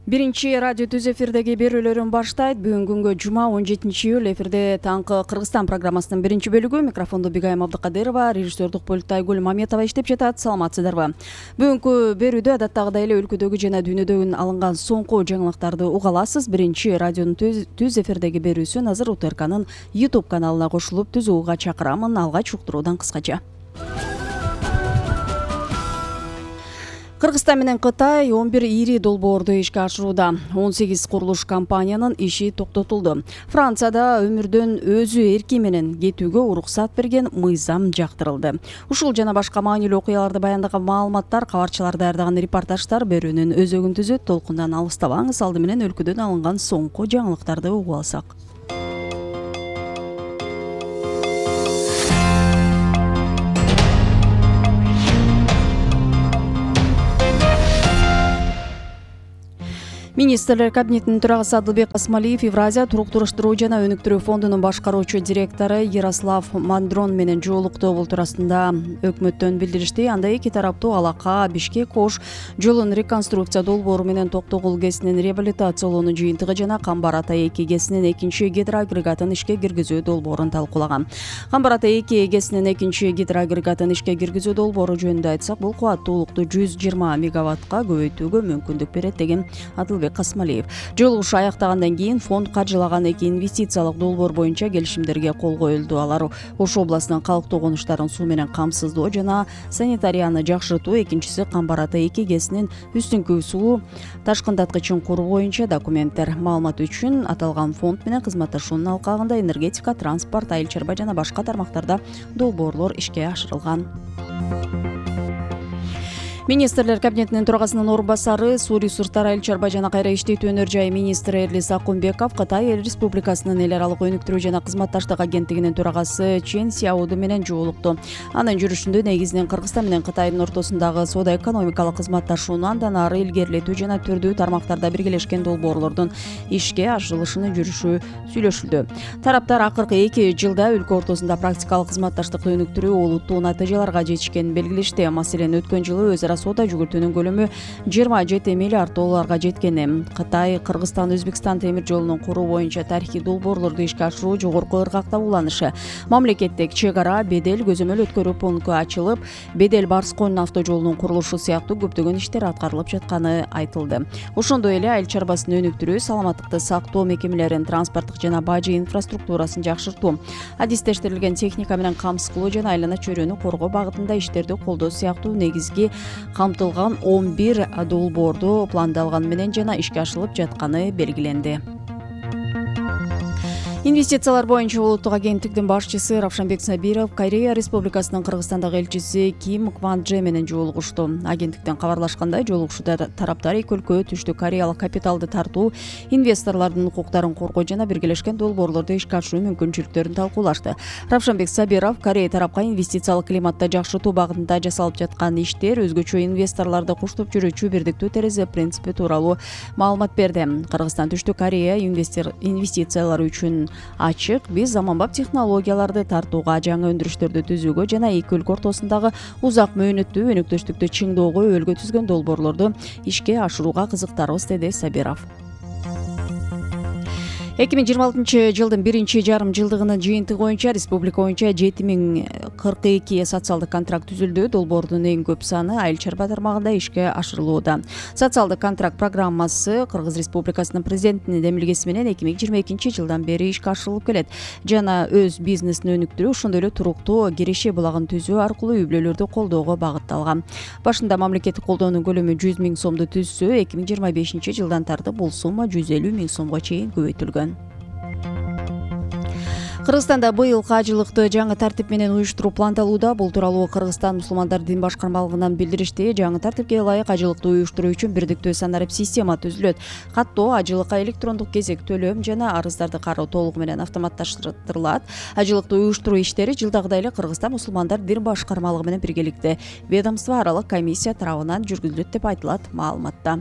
Биринчи радио түз эфирдеги берүүлөрүн баштайт. Бүгүн күнгө жума 17-июль эфирде таңкы Кыргызстан программасынын биринчи бөлүгү. Микрофондо Бигайым Абдыкадырова, режиссердук пультта Айгүл Маметова иштеп жатат. Саламатсыздарбы? Бүгүнкү берүүдө адаттагыдай эле өлкөдөгү жана дүйнөдөн алынган соңку жаңылыктарды уга аласыз. Биринчи радионун түз эфирдеги берүүсүн азыр УТРКнын YouTube каналына кошулуп түз угууга чакырамын. Алгач уктуруудан кыскача. Кыргызстан менен Кытай 11 ири долбоорду ишке ашырууда. 18 курулуш компаниянын иши токтотулду. Францияда өмүрдөн өзү эрки менен кетүүгө уруксат берген мыйзам жактырылды. Ушул жана башка маанилүү окуяларды баяндаган маалыматтар, кабарчылар даярдаган репортаждар берүүнүн өзөгүн түзөт. Толкундан алыстабаңыз, алды менен өлкөдөн алынган соңку жаңылыктарды угуп алсак. Министрлер кабинетинин төрагасы Адылбек Асмалиев Евразия туруктуруштуруу жана өнүктүрүү фондунун башкаруучу директору Ярослав Мандрон менен жолукту. Бул туурасында өкмөттөн билдиришти. Анда эки тараптуу Алака Бишкек-Ош жолун реконструкция долбоору менен Токтогул ГЭСинин реабилитациялоонун жыйынтыгы жана Камбар-Ата-2 ГЭСинин экинчи гидроагрегатын ишке киргизүү долбоорун талкуулаган. Камбар-Ата-2 ГЭСинин экинчи гидроагрегатын ишке киргизүү долбоору жөнүндө айтсак, бул кубаттуулукту 120 мегаваттка көбөйтүүгө мүмкүндүк берет деген Адылбек Асмалиев. Жолугуш аяктагандан кийин фонд каржылаган эки инвестициялык долбоор боюнча келишимдерге кол коюлду. Алар Ош областынын калктуу конуштарын суу менен камсыздоо жана санитарияны жакшыртуу, экинчиси Камбар-Ата-2 ГЭСинин үстүңкү суу ташкындаткычын куруу боюнча документтер. Маалымат үчүн аталган фонд менен кызматташуунун алкагында энергетика, транспорт, айыл чарба жана башка тармактарда долбоорлор ишке ашырылган. Министрлер кабинетинин төрагасынын орун басары, суу ресурстары, айыл чарба жана кайра иштетүү өнөр жай министри Эрлис Акунбеков Кытай Эл Республикасынын эл аралык өнүктүрүү жана кызматташтык агенттигинин төрагасы Чен Сяоду менен жолукту. Анын жүрүшүндө негизинен Кыргызстан менен Кытайдын ортосундагы соода-экономикалык кызматташууну андан ары илгерилетүү жана түрдүү тармактарда биргелешкен долбоорлордун ишке ашырылышынын жүрүшү сүйлөшүлдү. Тараптар акыркы 2 жылда өлкө ортосунда практикалык кызматташтыкты өнүктүрүү олуттуу натыйжаларга жетишкенин белгилешти. Маселен, өткөн жылы өз ара соода жүгүртүүнүн көлөмү 27 миллиард долларга жеткени. Кытай Кыргызстан Өзбекстан темир жолунун куруу боюнча тарыхый долбоорлорду ишке ашыруу жогорку ыргакта уланышы. Мамлекеттик чек ара, бедел, көзөмөл өткөрүү пункту ачылып, бедел Барс-Конь автожолунун курулушу сыяктуу көптөгөн иштер аткарылып жатканы айтылды. Ошондой эле айыл чарбасын өнүктүрүү, саламаттыкты сактоо мекемелеринин транспорттук жана бажы инфраструктурасын жакшыртуу, адистештирилген техника менен камсыз кылуу жана айлана чөйрөнү коргоо багытында иштерди колдоо сыяктуу негизги камтылган 11 долбоорду пландалган менен жана ишке ашырылып жатканы белгиленди. Инвестициялар боюнча улуттук агенттиктин башчысы Равшанбек Сабиров Корея Республикасынын Кыргызстандагы элчиси Ким Кван-Дже менен жолугушту. Агенттиктен кабарлашкандай, жолугушууда тараптар эки өлкө Түштүк Кореялык капиталды тартуу, инвесторлордун укуктарын коргоо жана биргелешкен долбоорлорду ишке ашыруу мүмкүнчүлүктөрүн талкуулашты. Равшанбек Сабиров Корея тарапка инвестициялык климатты жакшыртуу багытында жасалып жаткан иштер, өзгөчө инвесторлорду куштап жүрүүчү бирдиктүү терезе принципи тууралуу маалымат берди. Кыргызстан Түштүк Корея инвестициялар үчүн ачык. Биз заманбап технологияларды тартууга, жаңы өндүрүштөрдү түзүүгө жана эки өлкө ортосундагы узак мөөнөттүү өнөктөштүктү чыңдоого өлгө түзгөн долбоорлорду ишке ашырууга кызыктарбыз, деди Сабиров. 2026 жылдын биринчи жарым жылдыгынын жыйынтыгы боюнча республика боюнча 7042 социалдык контракт түзүлдү. Долбоордун эң көп саны айыл чарба тармагында ишке ашырылууда. Социалдык контракт программасы Кыргыз Республикасынын президентинин демилгеси менен 2022 жылдан бери ишке ашырылып келет. Жана өз бизнесин өнүктүрүү, ошондой эле туруктуу киреше булагын түзүү аркылуу үй бүлөлөрдү колдоого багытталган. Башында мамлекеттик колдоонун көлөмү 100 000 сомду түзсө, 2025 жылдан тартып бул сумма 150 000 сомго чейин көбөйтүлгөн. Кыргызстанда быйыл кажылыкты жаңы тартип менен уюштуруу пландалууда. Бул тууралуу Кыргызстан мусулмандар дин башкармалыгынан билдиришти. Жаңы тартипке ылайык ажылыкты уюштуруу үчүн бирдиктүү санарип система түзүлөт. Каттоо, ажылыкка электрондук кезек төлөм жана арыздарды кароо толугу менен автоматташтырылат. Ажылыкты уюштуруу иштери жылдагыдай эле Кыргызстан мусулмандар дин башкармалыгы менен биргеликте ведомство аралык комиссия тарабынан жүргүзүлөт деп айтылат маалыматта.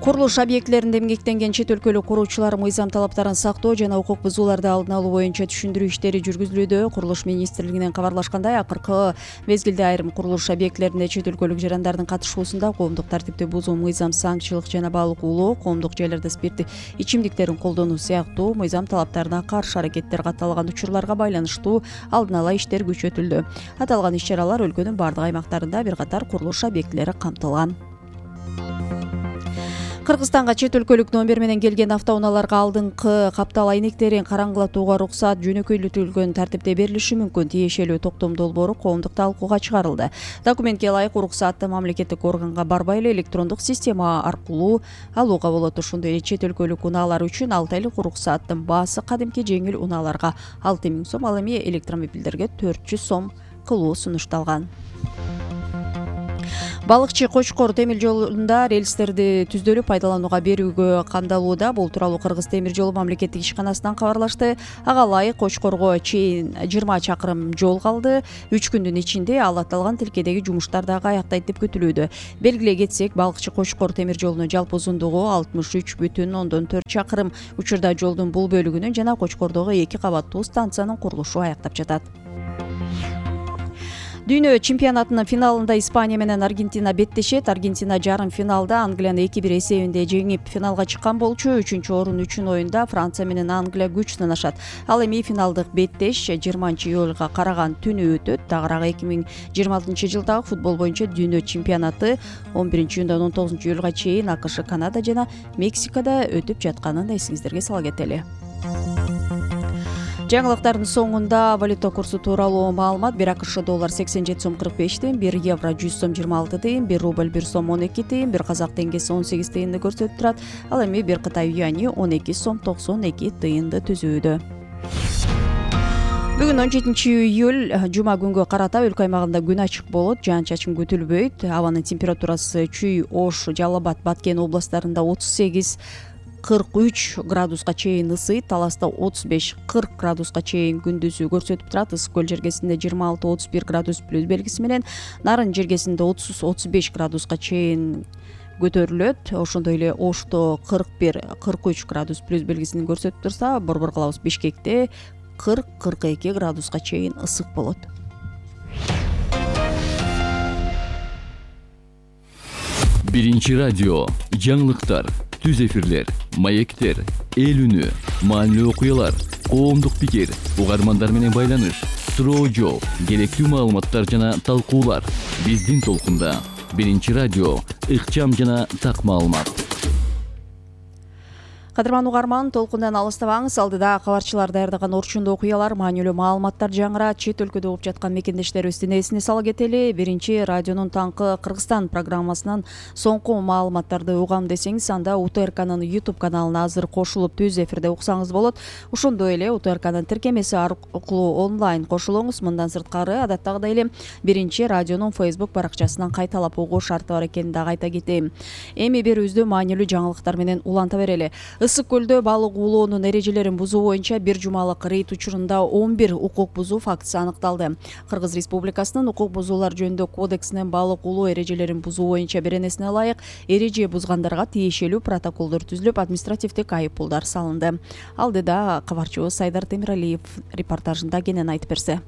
Курулуш объектилеринде эмгектенген чет өлкөлүк куруучулар мыйзам талаптарын сактоо жана укук бузууларды алдын алуу боюнча түшүндүрүү иштери жүргүзүлүүдө. Курулуш министрлигинен кабарлашкандай, акыркы мезгилде айрым курулуш объектилеринде чет өлкөлүк жарандардын катышуусунда коомдук тартипти бузуу, мыйзам, саңчылык жана баалык уулоо, коомдук жайларда спирттик ичимдиктерин колдонуу сыяктуу мыйзам талаптарына каршы аракеттер катталган учурларга байланыштуу алдын ала иштер күчөтүлдү. Аталган иш-чаралар өлкөнүн бардык аймактарында бир катар курулуш объектилери камтылган. Кыргызстанга чет өлкөлүк номер менен келген автоунааларга алдыңкы каптал айнектерин караңгылатууга уруксат жөнөкөйлөтүлгөн тартипте берилиши мүмкүн. Тиешелүү токтом долбоору коомдук талкууга чыгарылды. Документке ылайык уруксатты мамлекеттик органга барбай эле электрондук система аркылуу алууга болот. Ошондой эле чет өлкөлүк унаалар үчүн 6 айлык уруксаттын баасы кадимки жеңил унааларга 6000 сом, ал эми электромобилдерге 400 сом кылуу сунушталган. Балыкчы Кочкор темир жолунда рельстерди түздөлүп пайдаланууга берүүгө камдалууда. Бул тууралуу Кыргыз темир жолу мамлекеттик ишканасынан кабарлашты. Ага ылайык Кочкорго чейин 20 чакырым жол калды. 3 күндүн ичинде ал аталган тилкедеги жумуштар дагы аяктайт деп күтүлүүдө. Белгилей кетсек, Балыкчы Кочкор темир жолунун жалпы узундугу 63,4 чакырым. Учурда жолдун бул бөлүгүнүн жана Кочкордогу 2 кабаттуу станциянын курулушу аяктап жатат. Дүйнө чемпионатынын финалында Испания менен Аргентина беттешет. Аргентина жарым финалда Англияны 2-1 эсебинде жеңип финалга чыккан болчу. 3-орун үчүн оюнда Франция менен Англия күч сынашат. Ал эми финалдык беттеш 20-июлга караган түнү өтөт. Тагыраак 2026-жылдагы футбол боюнча дүйнө чемпионаты 11-июндан 19-июлга чейин АКШ, Канада жана Мексикада өтүп жатканын эсиңиздерге сала кетели. Жаңылыктардын соңунда валюта курсу тууралуу маалымат: 1 АКШ доллар 87 сом 45 тыйын, 1 евро 100 сом 26 тыйын, 1 рубль 1 сом 12 тыйын, 1 казак теңгеси 18 тыйынды көрсөтүп турат. Ал эми 1 Кытай юани 12 сом 92 тыйынды түзүүдө. Бүгүн 17-июль жума күнгө карата өлкө аймагында күн ачык болот, жаан-чачын күтүлбөйт. Абанын температурасы Чүй, Ош, Жалал Абад, Баткен областарында 38-43 градуска чейин ысыйт. Таласта 35-40 градуска чейин күндүзү көрсөтүп турат. Ысык көл жергесинде 26-31 градус плюс белгиси менен, Нарын жергесинде 30-35 градуска чейин көтөрүлөт. Ошондой эле Ошто 41-43 градус плюс белгисин көрсөтүп турса, Борбор калабыз Бишкекте 40-42 градуска чейин ысык болот. Биринчи радио, жаңылыктар, түз эфирлер, маектер, эл үнү, маанилүү окуялар, коомдук пикир, угармандар менен байланыш, суроо жооп, керектүү маалыматтар жана талкуулар. Биздин толкунда Биринчи радио, ыкчам жана так маалымат. Кадырман угарман, толкундан алыстабаңыз. Алдыда кабарчылар даярдаган орчундуу окуялар, маанилүү маалыматтар жаңырат. Чет өлкөдө болуп жаткан мекендештерибиздин эсине сала кетели. Биринчи радионун таңкы Кыргызстан программасынан соңку маалыматтарды угам десеңиз, анда УТРКнын YouTube каналына азыр кошулуп түз эфирде уксаңыз болот. Ошондой эле УТРКнын тиркемеси аркылуу онлайн кошулуңуз. Мындан сырткары, адаттагыдай эле Биринчи радионун Facebook баракчасынан кайталап угуу шарты бар экенин дагы айта кетейин. Эми берүүбүздү маанилүү жаңылыктар менен уланта берели. Ысык көлдө балык уулоонун эрежелерин бузуу боюнча бир жумалык рейд учурунда 11 укук бузуу фактысы аныкталды. Кыргыз Республикасынын укук бузуулар жөнүндө кодексинин балык уулоо эрежелерин бузуу боюнча беренесине ылайык эреже бузгандарга тиешелүү протоколдор түзүлүп, административдик айыппулдар салынды. Алдыда кабарчыбыз Сайдар Темиралиев репортажында кенен айтып берсе.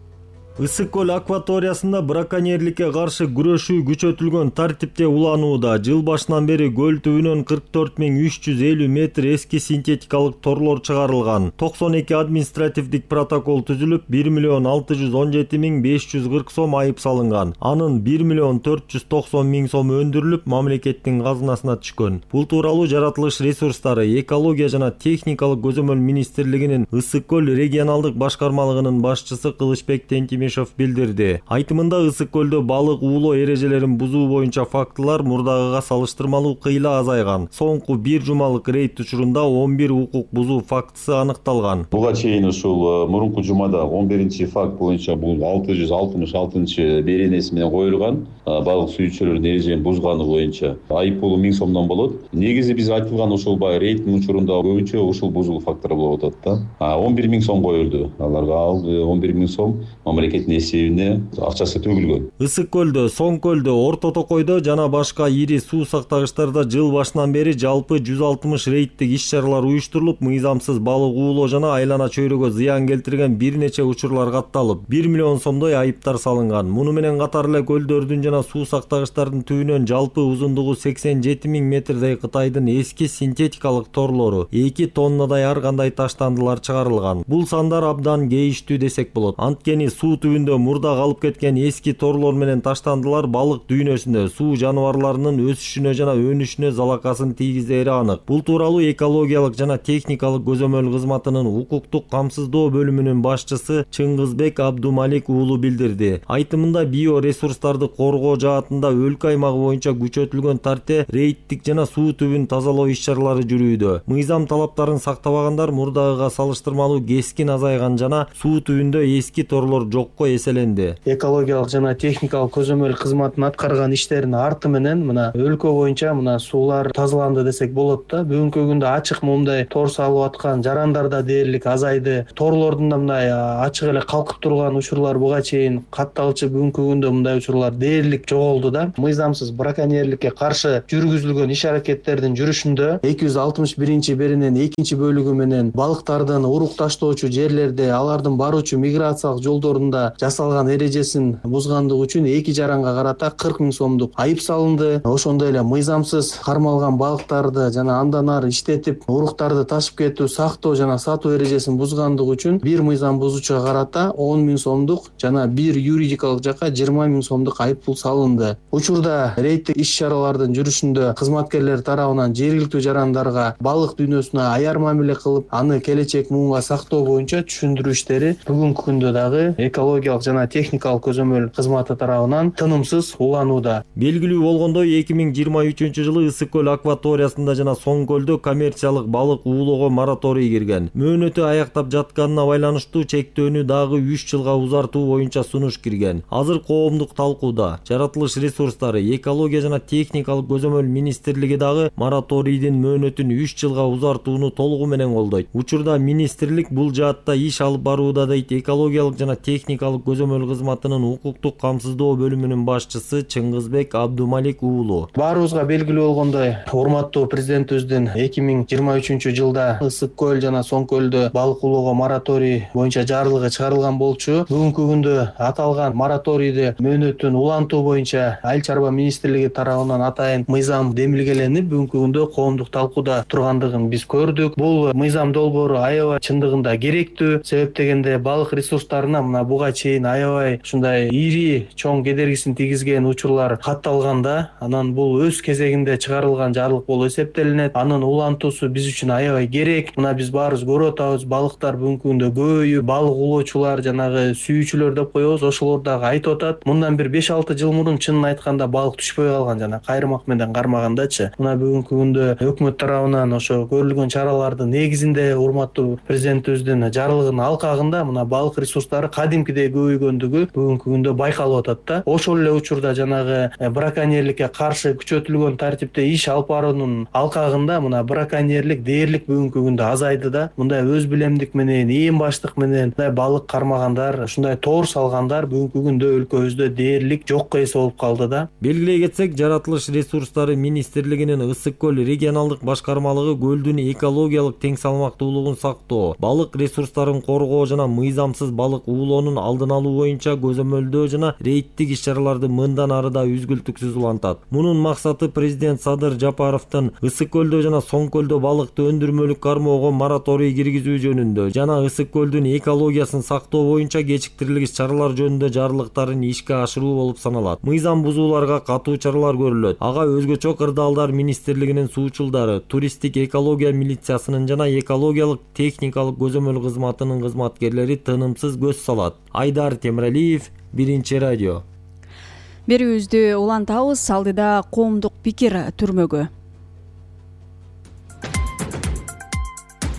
Ысык көл акваториясында браконьерликке каршы күрөшүү күчөтүлгөн тартипте уланууда. Жыл башынан бери көл түбүнөн 44.350 метр эски синтетикалык торлор чыгарылган. 92 административдик протокол түзүлүп, 1.617.540 сом айып салынган. Анын 1.490.000 сом өндүрүлүп, мамлекеттин казынасына түшкөн. Бул тууралуу жаратылыш ресурстары, экология жана техникалык көзөмөл министрлигинин Ысык көл регионалдык башкармалыгынын башчысы Кылычбек билдирди. Айтымында Ысык көлдө балык уулоо эрежелерин бузуу боюнча фактылар мурдагыга салыштырмалуу кыйла азайган. Соңку бир жумалык рейд учурунда 11 укук бузуу фактысы аныкталган. Буга чейин ушул мурунку жумада 11 факт боюнча бул 666 беренеси менен коюлган. Балык сүйүүчүлөрдүн эрежелерин бузганы боюнча айыппулу 1000 сомдон болот. Негизи биз айтылган ушул рейдтин учурунда көбүнчө ушул бузулуу факттар болуп атат да. 11.000 сом коюлду. Аларга 11.000 сом мамлекет мамлекеттин эсебине акчасы төгүлгөн. Ысык көлдө, Соң көлдө, Орто Токойдо жана башка ири суу сактагычтарда жыл башынан бери жалпы 160 рейдтик иш-чаралар уюштурулуп, мыйзамсыз балык уулоо жана айлана чөйрөгө зыян келтирген бир нече учурлар катталып, 1 миллион сомдой айыптар салынган. Муну менен катар эле көлдөрдүн жана суу сактагычтардын түбүнөн жалпы узундугу 87 000 метрдей Кытайдын эски синтетикалык торлору 2 тоннадай ар кандай таштандылар чыгарылган. Бул сандар абдан кейиштүү десек болот. Анткени суу түбүндө мурда калып кеткен эски торлор менен таштандылар балык дүйнөсүнө, суу жаныбарларынын өсүшүнө жана өнүшүнө залакасын тийгизери анык. Бул тууралуу экологиялык жана техникалык көзөмөл кызматынын укуктук камсыздоо бөлүмүнүн башчысы Чыңгызбек Абдумалик уулу билдирди. Айтымында биоресурстарды коргоо жаатында өлкө аймагы боюнча күчөтүлгөн тарте рейдтик жана суу түбүн тазалоо иш-чаралары жүрүүдө. Мыйзам талаптарын сактабагандар мурдагыга салыштырмалуу кескин азайган жана суу түбүндө эски торлор жокко эселенди. Экологиялык жана техникалык көзөмөл кызматынын аткарган иштеринин арты менен мына өлкө боюнча мына суулар тазаланды десек болот да. Бүгүнкү күндө ачык мындай тор салып аткан жарандар да дээрлик азайды. Торлордун да мындай ачык эле калкып турган учурлар буга чейин катталчу, бүгүнкү күндө мындай учурлар дээрлик жоголду да. Мыйзамсыз браконьерликке каршы жүргүзүлгөн иш-аракеттердин жүрүшүндө 261-беренин 2-бөлүгү менен балыктардын урук таштоочу жерлерде, алардын баруучу миграциялык жолдорунда жасалган эрежесин бузгандыгы үчүн 2 жаранга карата 40 000 сомдук айып салынды. Ошондой эле мыйзамсыз кармалган балыктарды жана андан ары иштетип уруктарды ташып кетүү, сактоо жана сатуу эрежесин бузгандыгы үчүн бир мыйзам бузуучуга карата 10 000 сомдук жана бир юридикалык жакка 20 000 сомдук айып пул салынды. Учурда рейдтик иш-чаралардын жүрүшүндө кызматкерлер тарабынан жергиликтүү жарандарга балык дүйнөсүнө аяр мамиле кылып, аны келечек муунга сактоо боюнча түшүндүрүү иштери бүгүнкү күндө дагы экологиялык жана техникалык көзөмөл кызматы тарабынан тынымсыз уланууда. Белгилүү болгондой 2023-жылы Ысык көл акваториясында жана Соң көлдө коммерциялык балык уулоого мораторий кирген. Мөөнөтү аяктап жатканына байланыштуу чектөөнү дагы 3 жылга узартуу боюнча сунуш кирген. Азыр коомдук талкууда. Жаратылыш ресурстары, экология жана техникалык көзөмөл министрлиги дагы мораторийдин мөөнөтүн 3 жылга узартууну толугу менен колдойт. Учурда министрлик бул жаатта иш алып барууда дейт экологиялык жана техникалык көзөмөл кызматынын укуктук камсыздоо бөлүмүнүн башчысы Чыңгызбек Абдумалик уулу. Баарыбызга белгилүү болгондой, урматтуу президентибиздин 2023-жылда Ысык көл жана Соң көлдө балык уулоого мораторий боюнча жарлыгы чыгарылган болчу. Бүгүнкү күндө аталган мораторийди мөөнөтүн улантуу боюнча Айыл чарба министрлиги тарабынан атайын мыйзам демилгеленип, бүгүнкү күндө коомдук талкууда тургандыгын биз көрдүк. Бул мыйзам долбоору аябай чындыгында керектүү. Себеп дегенде балык ресурстарына мына буга чейин аябай ушундай ири чоң кедергисин тийгизген учурлар катталганда, анан бул өз кезегинде чыгарылган жарлык болуп эсептелинет. Анын улантуусу биз үчүн аябай керек. Мына биз баарыбыз көрүп атабыз, балыктар бүгүнкү күндө көбөйүп, балык уулоочулар жанагы сүйүүчүлөр деп коебуз, ошолор дагы айтып атат. Мындан бир 5-6 жыл мурун чынын айтканда балык түшпөй калган, жана кайрымак менен кармагандачы. Мына бүгүнкү күндө өкмөт тарабынан ошо көрүлгөн чаралардын негизинде урматтуу президентибиздин жарлыгынын алкагында мына балык ресурстары кадимкидей көбөйгөндүгү бүгүнкү күндө байкалып атат да. Ошол эле учурда жанагы браконьерликке каршы күчөтүлгөн тартипте иш алып баруунун алкагында мына браконьерлик дээрлик бүгүнкү күндө азайды да. Мындай өз билемдик менен, ээн баштык менен мындай балык кармагандар, ушундай тоор салгандар бүгүнкү күндө өлкөбүздө дээрлик жокко эсе болуп калды да. Белгилей кетсек, Жаратылыш ресурстары министрлигинин Ысык көл регионалдык башкармалыгы көлдүн экологиялык тең салмактуулугун сактоо, балык ресурстарын коргоо жана мыйзамсыз балык уулоонун алдын алуу боюнча көзөмөлдөө жана рейдтик иш-чараларды мындан ары да үзгүлтүксүз улантат. Мунун максаты президент Садыр Жапаровдун Ысык көлдө жана Соң көлдө балыкты өндүрмөлүк кармоого мораторий киргизүү жөнүндө жана Ысык көлдүн экологиясын сактоо боюнча кечиктирилгис чаралар жөнүндө жарлыктарын ишке ашыруу болуп саналат. Мыйзам бузууларга катуу чаралар көрүлөт. Ага өзгөчө кырдаалдар министрлигинин суучулдары, туристтик экология милициясынын жана экологиялык техникалык көзөмөл кызматынын кызматкерлери тынымсыз көз салат. Айдар Темиралиев, Биринчи радио. Берүүбүздү улантабыз, алдыда коомдук пикир түрмөгү.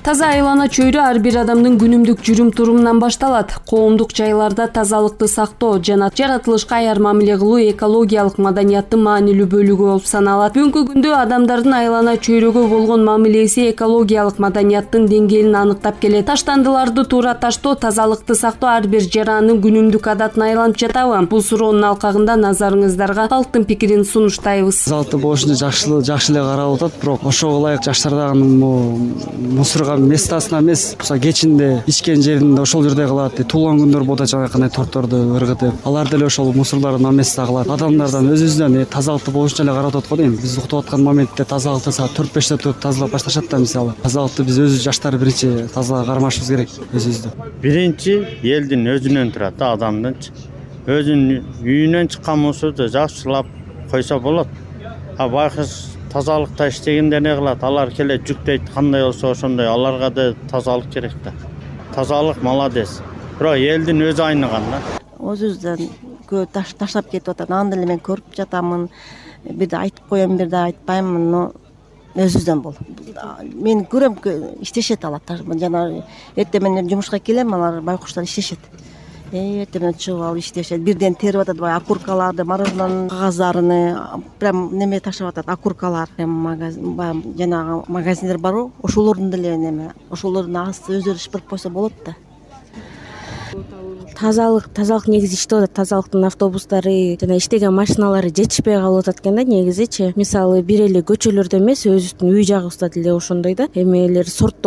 Таза айлана чөйрө ар бир адамдын күнүмдүк жүрүм-турумунан башталат. Коомдук жайларда тазалыкты сактоо жана жаратылышка аяр мамиле кылуу экологиялык маданияттын маанилүү бөлүгү болуп саналат. Бүгүнкү күндө адамдардын айлана чөйрөгө болгон мамилеси экологиялык маданияттын деңгээлин аныктап келет. Таштандыларды туура таштоо, тазалыкты сактоо ар бир жаранын күнүмдүк адатына айланып жатабы? Бул суроонун алкагында назарыңыздарга алттын пикирин сунуштайбыз. Тазалыкты болушунча жакшы эле карап атат, бирок ошого ылайык жаштар дагы мусорго местасына эмес, кечинде ичкен жеринде ошол жерде кылат. Туулган күндөр болду, жана кандай торторду ыргытып, алар деле ошол мусорлорду наместте кылат. Адамдардан өзүбүздөн тазалыкты болушунча эле карап атат го дейм. Биз уктап аткан моментте тазалыкты саат 4-5те туруп тазалап башташат да, мисалы. Тазалыкты биз өзүбүз жаштар биринчи таза кармашыбыз керек өзүбүздү. Биринчи элдин өзүнөн турат да, адамдынчы. Өзүнүн үйүнөн чыккан мусорду жакшылап койсо болот. Байкуш тазалыкта иштегенде не кылат? Алар келе жүктөйт, кандай болсо ошондой аларга да тазалык керек да. Тазалык молодец. Бирок элдин өзү айныган да. Өзүбүздөн көп таштап кетип атат. Аны деле мен көрүп жатамын. Бирде айтып коем, бирде айтпаймын, но өзүбүздөн болот. Мен көрөм, иштешет алар. Жана эртең менен жумушка келем, алар байкуштар иштешет. Эртең менен чыгып алып иштешет. Бирден терип атат, бай окуркаларды, мороженонун кагаздарын, прям неме таштап атат, окуркалар. Жанагы магазиндер барбы? Ошолордун деле неме, ошолордун асты өздөрү шыпырып койсо болот да. Тазалык негизи иштеп атат. Тазалыктын автобустары жана иштеген машиналары жетишпей калып атат экен да негизичи. Мисалы бир эле көчөлөрдө эмес, өзүбүздүн үй жагыбызда деле ошондой да. Эмелер сорттолуп